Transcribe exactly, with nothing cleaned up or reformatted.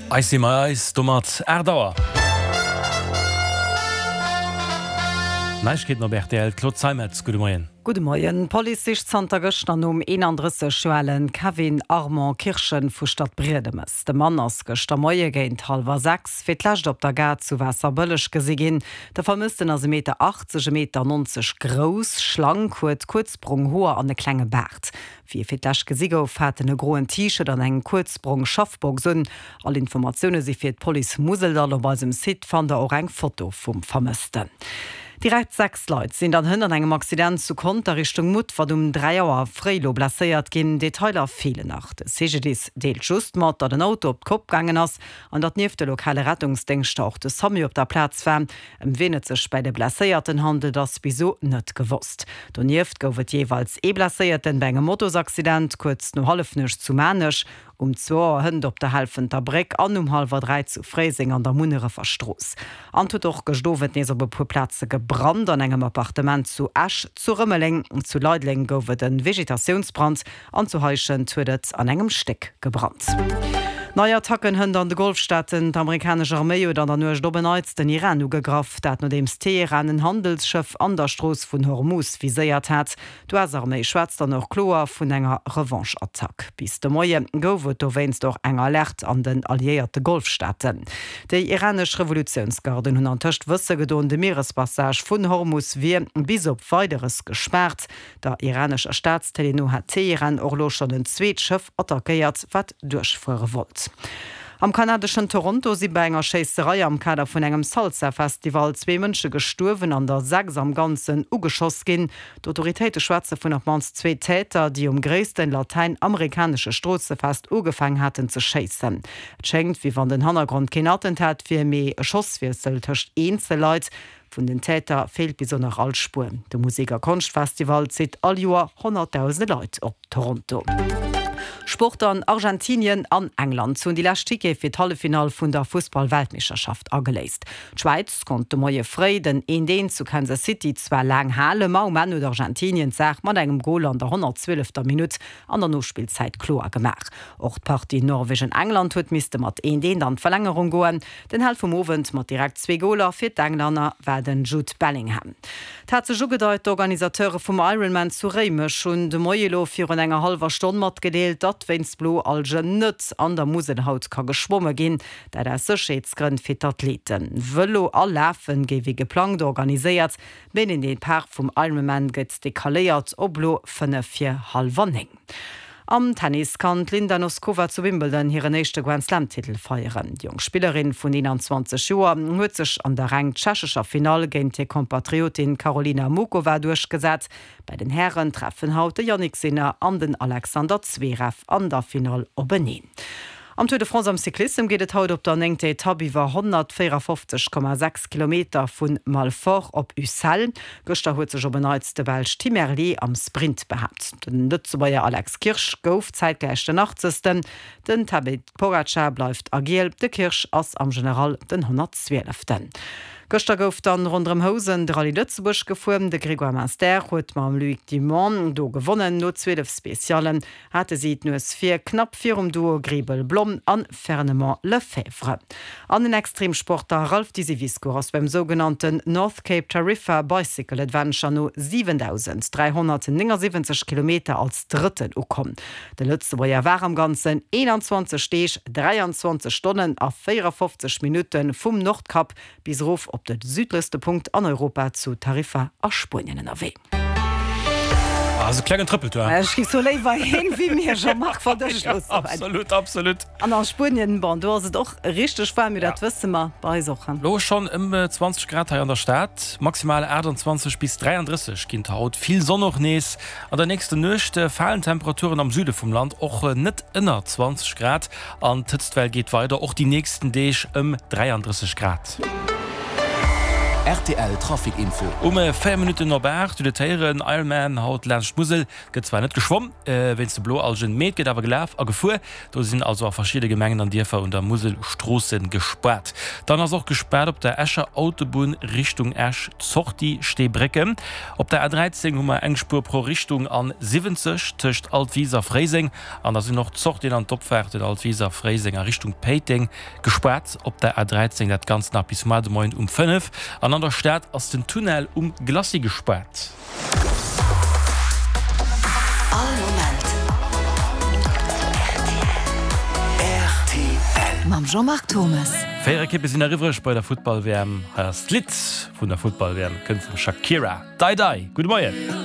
Eis si mer eis, domat aacht Auer. Neiegkeeten op rtl, Claude Zeimetz, gudde Moien. Gudde Moien. D'Police sicht zanter gëschter nom eenandrësseg Joer ale Kevin Armand Kirchen vu Stadbriedemes. De Mann ass gëschter Moie géint hallwer sechs fir d'lescht op der Gare zu Waasserbëlleg gesi ginn. De Vermëssten ass e Meter achtzeg, e Meter nonzeg grouss, schlank, huet kuerz brong Hoer an e klenge Baart. Wéi e fir d'lescht gesi gouf, hat en e groen T-Shirt an eng kuerz brong Schaffbox un. All Informatioune si fir d'Police Museldall. Op eisem Site fannt der och eng Foto vum Vermëssten. Direkt sechs Leit sinn dann hënt an engem Accident zu Conter Richtung Mutfert um dräi Auer fréi lo blesséiert ginn. Detailer feelen nach. De C G D I S deelt just mat, datt en Auto op d'Kopp gaangen ass an datt nieft de lokale Rettungsdéngschter och de SAMU op der Plaz war. Ëm wien et sech bäi de Blesséierten handelt, ass bis elo net gewosst. Donieft gouf et jeeweils ee Blesséierten bei engem Motosaccident kuerz no Hallefnuecht zu Maarnech, um zwou Auer hënt op der Helfenter Bréck an um hallwer dräi zu Fréiseng an der Munnerefer Strooss. An et huet och gëscht Owend nees op e puer Plaze gebrannt, an engem Appartement zu Esch, zu Rëmeleng, zu Leideleng gouf et e Vegetatiounsbrand an zu Heischent huet et an engem Stéck gebrannt. Nei Attacken hënt an de Golfstaaten, D'amerikanesch Arméi huet an der Nuecht op en Neits den Iran ugegraff, dat nodeems Teheran en Handelsschëff an der Strooss vun Hormuz viséiert hat. D'U S-Arméi schwätzt dann och kloer vun enger Revanche-Attack. Bis de Moie gouf et dowéinst och eng Alerte an den alliéierte Golfstaaten. Déi iranesch Revolutiounsgarden hunn antëscht wësse gedoen, de Mierespassage vun Hormuz wier bis op Weideres gespaart. Der iranescher Staatstélé no hat Teheran och elo schonn en zweet Schëff attackéiert, wat duerchfuere wollt. Am kanadeschen Toronto si bei enger Schéisserei am Kader vun engem Salsa-Festival zwee Mënsche gestuerwen an der sechs am Ganzen ugeschoss ginn. D'Autoritéite schwätze vun op d'mannst zwee Täter, déi um gréissten latäinamerikanesche Stroossefest ugefaangen haten ze schéissen. Et schéngt, wéi wann den Hannergrond keen Attentat wier, mee e Schosswiessel tëscht Eenzelleit. Vun den Täter feelt bis elo nach all Spuer. De Musek a Konschtfestival zitt all Joer honnertdausende Leit op Toronto. Sport an Argentinien an England hunn déi lescht Tickete fir d'Halleffinall vun der Fussball-Weltmeeschterschaft ageléist. D'Schwäiz konnt de Moie fréi den eent eent zu Kansas City zwar laang halen, ma um Enn huet Argentinien d'Saach mat engem Gol an der honnertzwielefter Minutt an der Nospillzäit kloer gemaach. Och d'Partie Norwegen-England huet misste mat eent eent an d'Verlängerung goen. Den Held vum Owend mat direkt zwee Goler fir d'Englänner war den Jude Bellingham. Et hat sech ugedeit, D'Organisateure vum Ironman zu Réimech hunn de Moie elo virun enger hallwer Stonn matgedeelt, datt wéinst Bloalgen net an der Musel haut ka geschwomme ginn. Dat aus Sécherheetsgrënn fir d'Athleten. Vëlo a Lafen géif wéi geplangt organiséiert, mee den Depart vum Ironman gëtt decaléiert op elo fënnef vir hallwer néng. Am Tennis kann d'Linda Noskova zu Wimbledon hiren éischte Grand-Slam-Titel feieren. Déi jonk Spillerin vun eenanzwanzeg Joer huet sech an der reng tschechescher Finall géint hir Kompatriotin Karolina Muchova duerchgesat. Bei den Hären treffen haut de Jannik Sinner an den Alexander Zverev an der Finall openeen. Am Tour de France am Cyclissem geet et haut op der néngter Etapp iwwer honnertvéierafofzeg Komma sechs Kilometer vu Malfort op Ussel. Gëschter huet sech op en Neits de Belsch Tim Merlier am Sprint behaapt. Den Lëtzebuerger Alex Kirsch gouf zäitgläich den Achtzegsten. Den Tadej Pogacar bleift a Giel, de Kirsch ass am General den honnertzwieleften. Gëschter gouf dann ronderëm Housen de Rallye Lëtzebuerg gefuer. De Grégoire Munster huet mam Loïc Dumont do gewonnen. No zwielef Speciallen hate si d'Nues vir, knapp virum Duo Griebel-Blom an Fernement-Lefèvre. An den Extremsportler Ralph Disivisco ass beim sougenannten North Cape Tarifa Bicycle Adventure no siwendausend dräihonnertnéngesiwwenzeg Kilometer als Drëtten ukomm. De Lëtzebuerger war am Ganzen eenanzwanzeg Deeg, dräianzwanzeg Stonnen a véierafofzeg Minutte vum Nordkap bis erof op de südlechste Punkt an Europa zu Tarifa a Spuenien ënnerwee. Ah, sou klengen Trëppeltour. Ech gi sou léiwer hin wéi mir, Jean-Marc, wann dech Ja, absolut, absolut. An a Spuenien, bon, do ass et och richteg waarm, mee dat wësse mer bei eis och. Lo schonn ëm zwanzeg Grad hei an der Stad, maximal aachtanzwanzeg bis dräiandrësseg ginn et haut. Vill Sonn och nees. An der nächster Nuecht falen d'Temperaturen am Süde vum Land och net ënner zwanzeg Grad an d'Hëtztwell geet weider och déi nächsten Deeg ëm dräiandrësseg Grad. Rtl Trafic Info. Um véier Minutten op aacht huet et héieren, Ironman haut laanscht d'Musel. Gëtt zwar net geschwomm wéinst de Bloalgen, mee et gëtt awer gelaf a gefuer. Do sinn also a verschidde Gemengen an Dierfer un der Musel Stroosse gespaart. Dann ass och gespaart op der Escher Autobunn Richtung Esch, Sortie Steebrécken. Op der A dräizéng hu mer eng Spuer pro Richtung an siwwenzeg tëscht Altwis a Fréiseng. An da sinn och d'Sortien an d'Opfaarten Altwis a Fréiseng a Richtung Péiteng gespaart op der A dräizéng. Dat Ganzt nach bis muar de Moien um fënnef. An an der Stad ass den Tunnel um Glacis gespaart. All Moment rtl. Mam Jean-Marc Thomes. Véier Ekippe sinn eriwwreg bei der Futtball-W M. Hei ass d'Lidd vun der Futtball-W M, kënnt vum Shakira, Dai Dai. Gudde Moien.